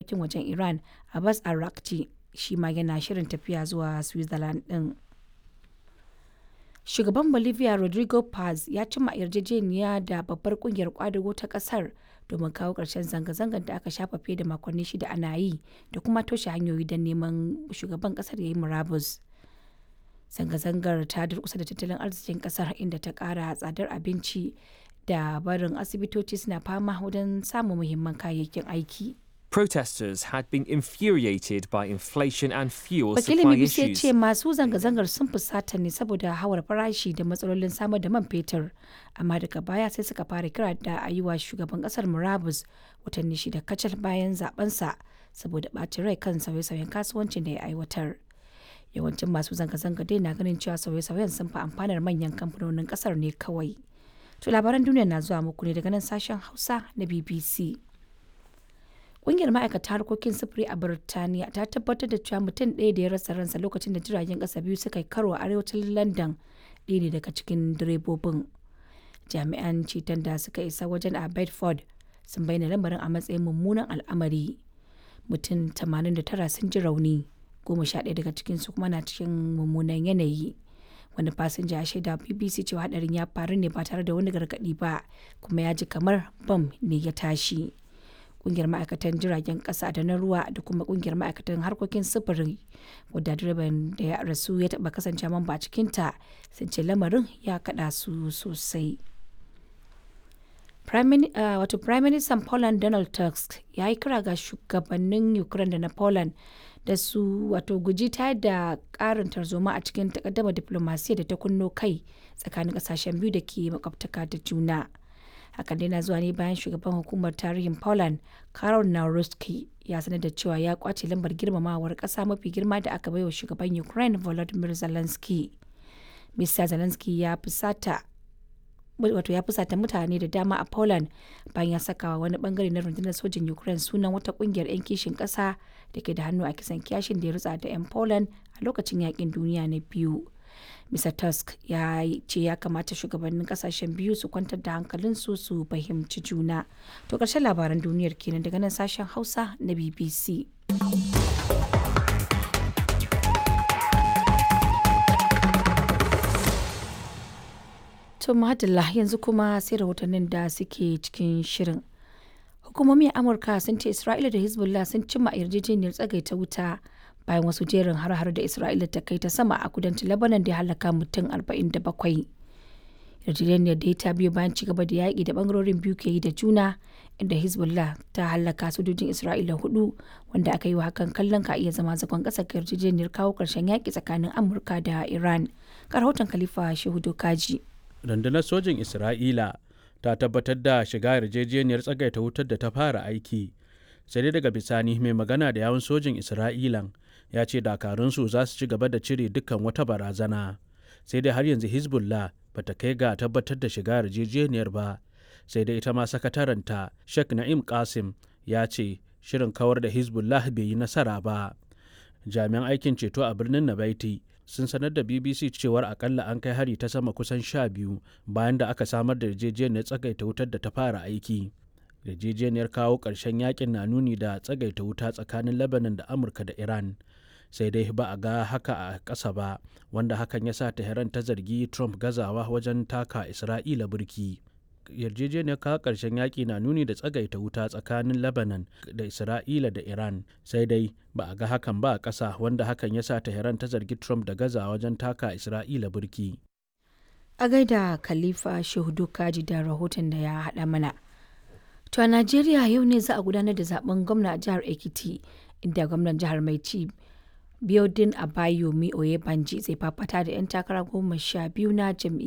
harkokin wajen Iran Abbas Araghchi shi ma yana shirin tafiya zuwa Switzerland ɗin. Shugaban Bolivia Rodrigo Paz ya cimma yarjejeniya da babbar kungiyar kwadago ta kasar domin kawo ƙarshen zanga-zangar da aka shafa fiye da makonni 6 ana yi da kuma toshe hanyoyi don neman shugaban kasar ya yi murabus. Zanga-zangar ta durkusa da tattalin arzikin kasar, inda ta kara tsadar abinci da barin asibitoci suna fama wajen samun muhimman kayayyakin aiki. Protesters had been infuriated by inflation and fuel Wakilin supply BBC ya issues. ce masu zanga-zangar sun fusata ne saboda hawar farashi da matsalolin samar da man fetur, amma daga baya sai suka fara kira da a yi wa shugaban kasar murabus watanni 6 kacal bayan zabensa saboda ɓacin rai kan sauye-sauyen kasuwancin da ya aiwatar. Yawancin masu zanga-zanga dai na ganin cewa sauye-sauyen sun fi amfanar manyan kamfanonin kasar ne kawai. To, labaran duniya na zuwa muku ne daga nan sashen Hausa na BBC. Ƙungiyar ma'aikata harkokin sufuri a Birtaniya ta tabbatar da cewa mutum ɗaya da ya rasa ransa lokacin da jiragen ƙasa biyu suka yi karo a arewacin London ɗaya ne daga cikin direbobin. Jami'an ceton da suka isa wajen a Bedford sun bayyana lamarin a matsayin mummunan al'amari. Mutum 89 sun ji rauni, 11 daga cikinsu kuma na cikin mummunan yanayi. Wani fasinja ya shaida BBC cewa hadarin ya faru ne ba tare da wani gargaɗi ba, kuma ya ji kamar bam ne ya tashi. Kungiyar ma'aikatan jiragen kasa da na ruwa da kuma kungiyar ma'aikatan harkokin sufuri, wadda direban da ya rasu ya taba kasance mamba a cikinta, sun ce lamarin ya kada su sosai. Wato Prime Minister Poland Donald Tusk ya yi kira ga shugabannin Ukraine da na Poland da su wato guji tayar da karin tarzoma a cikin takaddama diplomasiya da ta kunno kai tsakanin kasashen biyu da ke makwabtaka da juna. Hakan dai na zuwa ne bayan shugaban hukumar tarihin Poland Karol Nawrocki ya sanar da cewa ya kwace lambar girmamawar kasa mafi girma da aka baiwa shugaban Ukraine Volodymyr Zelensky. Mr Zelensky ya fusata, wato ya fusata mutane da dama a Poland bayan ya sakawa wani bangare na rundunar sojin Ukraine sunan wata kungiyar 'yan kishin kasa da ke da hannu a kisan kiyashin da ya rutsa da 'yan Poland a lokacin yakin duniya na biyu. Mr. Tusk ya ce ya kamata shugabannin kasashen biyu su kwantar da hankalinsu su fahimci juna. To, ƙarshen labaran duniyar kenan daga nan sashen Hausa na BBC. To madalla, yanzu kuma sai rahotannin da suke cikin shirin. Hukumomi a Amurka sun ce Isra'ila da Hezbollah sun cimma yarjejeniyar tsagaita wuta bayan wasu jerin har-har da Isra'ila ta kai ta sama a kudancin Lebanon da ya halaka mutum 47. Yarjejeniyar da ta biyo bayan ci gaba da yaƙi da bangarorin biyu ke yi da juna, inda Hezbollah ta halaka sojojin Isra'ila hudu, wanda aka yi wa hakan kallon ka iya zama zagon ƙasa ga yarjejeniyar kawo ƙarshen yaƙi tsakanin Amurka da Iran. Ga rahoton Khalifa Shehu Dokaji. Rundunar sojin Isra'ila ta tabbatar da shiga yarjejeniyar tsagaita wutar da ta fara aiki, sai dai daga bisani mai magana da yawun sojin Isra'ilan ya ce dakarunsu za su ci gaba da cire dukkan wata barazana. Sai dai har yanzu Hezbollah ba ta kai ga tabbatar da shiga yarjejeniyar ba. Sai dai ita ma sakataranta Sheikh Na'im Qasim ya ce shirin kawar da Hezbollah bai yi nasara ba. Jami'an aikin ceto a birnin Nabaiti sun sanar da BBC cewar akalla an kai hari ta sama kusan 12 bayan da aka samar da yarjejeniyar tsagaita wutar da ta fara aiki. Yarjejeniyar kawo ƙarshen yakin na nuni da tsagaita wuta tsakanin Lebanon da Amurka da Iran. Sai dai ba a ga haka a ƙasa ba, wanda hakan ya sa Tehran ta zargi Trump gazawa wajen taka Isra'ila burki. Yarjejeniyar kawo ƙarshen yaƙi na nuni da tsagaita wuta tsakanin Lebanon da Isra'ila da Iran, sai dai ba a ga hakan ba a ƙasa, wanda hakan ya sa Tehran ta zargi Trump da gaza wajen taka Isra'ila burki. A gaida Khalifa Shehu Dokaji da rahoton da ya haɗa mana. To, a Najeriya yau ne za a gudanar da zaben gwamna a jihar Ekiti, inda gwamnan jihar mai ci Biodun Abayomi Oyebanji zai fafata da 'yan takara 12 na jam'iyyar.